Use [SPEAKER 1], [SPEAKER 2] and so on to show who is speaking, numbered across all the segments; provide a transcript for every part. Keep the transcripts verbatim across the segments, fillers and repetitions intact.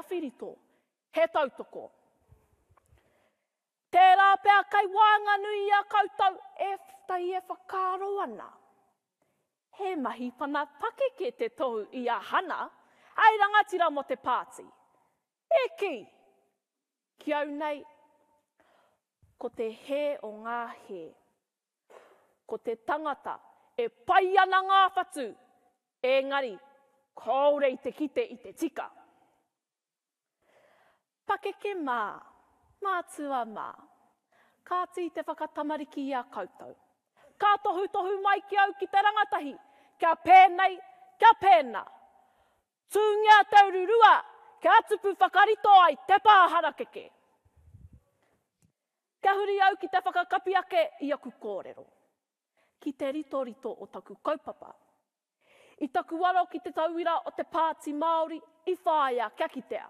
[SPEAKER 1] Whirito, he tautoko. Tērā pea kei waenganui i a koutou e tai e whakaaro ana. He mahi pana pakeke te tohu i a Hana, hei rangatira mō te pāti. E kī, ki au nei, ko te hē o ngā hē. Ko te tangata e pai ana ngā whatu, engari kāore i te kite i te tika. Pakeke mā, mātua mā, kāti te whakatamariki i a koutou. Ka tohutohu mai ki au ki te rangatahi, kia pēnei, kia pēnā. Tūngia te ururua, kia tupu whakarito ai te pā harakeke. Kia huri au ki te whakakapi ake i aku kōrero, ki te ritorito o taku kaupapa. I taku aro ki te tauira o te Pāti Māori i whāia kia kitea.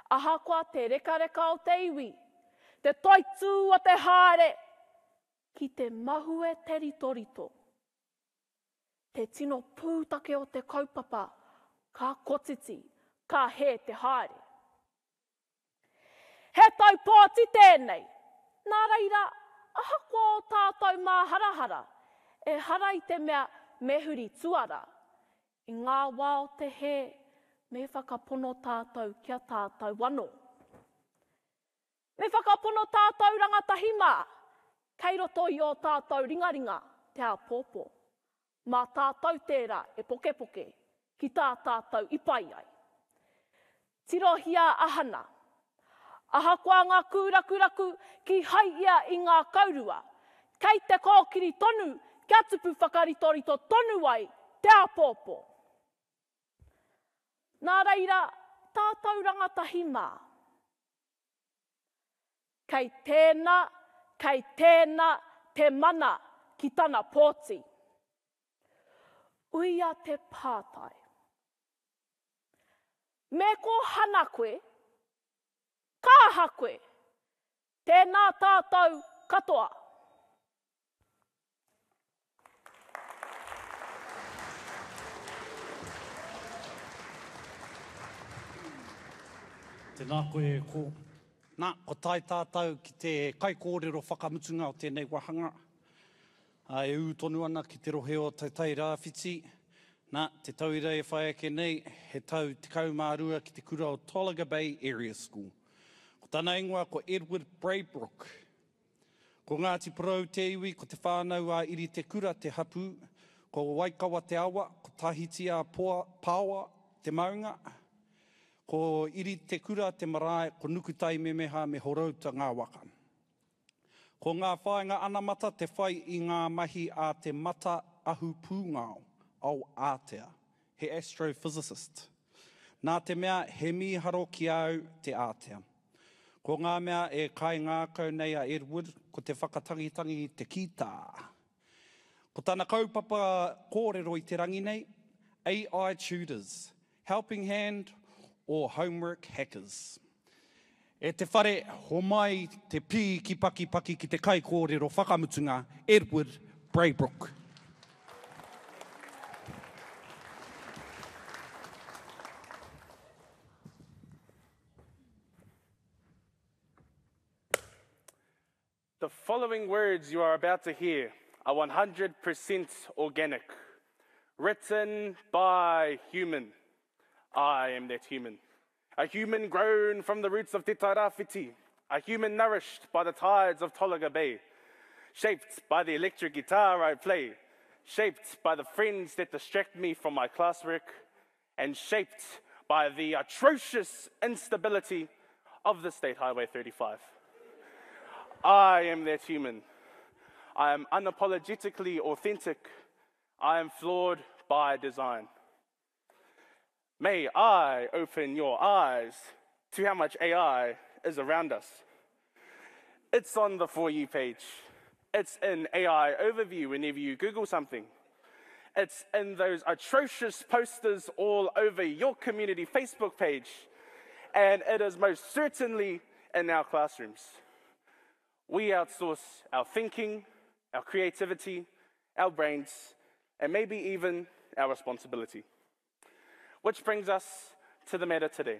[SPEAKER 1] Ahakoa te rekareka o te iwi, te toitū o te haere, ki te mahue te ritorito. Te tino pūtake o te kaupapa, ka kotiti, ka hē te haere. He tau pōti tēnei, nā reira, ahakoa o tātou māharahara, ehara i te mea me huri tuara. I ngā wā o te hē, me whakapono tātou kia tātou anō. Me whakapono tātou rangatahi mā, kei roto i ō tātou ringaringa te āpōpō. Mā tātou tērā e pokepoke ki tā tātou i pai ai. Tirohia a Hana. Ahakoa ngā kūrakuraku ki hai ia i ngā kaurua, kei te kōkiri tonu kia tupu whakaritorito tonu ai te āpōpō. Nā reira, tātou rangatahi mā. Kei tēnā, kei tēnā te mana ki tana pōti. Uia te pātai. Me ko Hana koe, ka aha koe? Tēnā tātou katoa.
[SPEAKER 2] Tēnā koe e ko. Nā, ko tae tātou ki te kaikōrero whakamutunga o tēnei wāhanga. Ā, e ū tonu ana ki te rohe o Te Tai Rāwhiti. Nā, te tauira e whai ake nei, he tau tekau mā rua ki te kura o Tolaga Bay Area School. Ko tana ingoa ko Edward Braybrook. Ko Ngāti Porou te iwi, ko Te Whānau a Iritekura te hapū, ko Waikawa te awa, ko Tahiti a Paoa te maunga, ko Iritekura te marae, ko Nukutaimemeha me Horouta ngā waka. Ko ngā whāinga anamata te whai i ngā mahi a te mata ahu pūngao, ao ātea, he astrophysicist. Nā te mea he mīharo ki a au te ātea. Ko ngā mea e kaingākau nei a Edward, ko te whakatangitangi i te kītā. Ko tana kaupapa kōrero i te rangi nei, A I Tutors, Helping Hand or Homework Hackers. E te whare, homai te pī ki pakipaki ki te kaikōrero whakamutunga, Edward Braybrook.
[SPEAKER 3] The following words you are about to hear are one hundred percent organic, written by human. I am that human. A human grown from the roots of Te Tai Rāwhiti, a human nourished by the tides of Tolaga Bay, shaped by the electric guitar I play, shaped by the friends that distract me from my classwork, and shaped by the atrocious instability of the State Highway thirty-five. I am that human. I am unapologetically authentic. I am flawed by design. May I open your eyes to how much A I is around us. It's on the For You page. It's in A I overview whenever you Google something. It's in those atrocious posters all over your community Facebook page. And it is most certainly in our classrooms. We outsource our thinking, our creativity, our brains, and maybe even our responsibility. Which brings us to the matter today.